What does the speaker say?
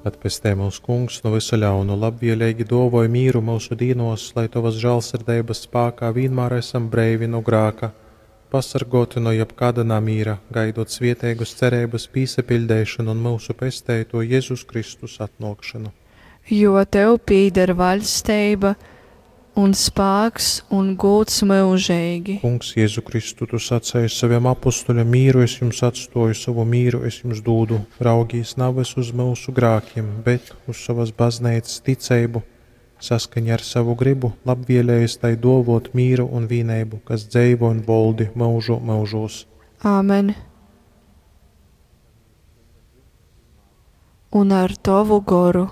Atpestej myus, Kungs, nu vysa ļaunu, labvieleigi dōvoj mīru myusu dīnōs, lai tovas žālsirdeibas spākā vīnmār esam breivi nu grāka, pasorgōti nu jebkāda namīra, gaidot svieteigas cereibas pīsapiļdeišonu un myusu Pesteitōja Jezus Kristus atnōkšonu. Jo tev pīdar vaļsteiba, un spāks, un gūds myužeigi. Kungs Jezu Kristu, tu saceji sovim apostuļam, Mīru es jums atstōju, sovu mīru es jums dūdu. Raugīs navys uz myusu grākim, bet uz sovas bazneicas ticeibu, saskaņā ar savu grybu labvielējies tai dōvōt mīru un vīneibu, kas dzeivo un voldi myužu myužūs. Āmen. Un ar tovu goru.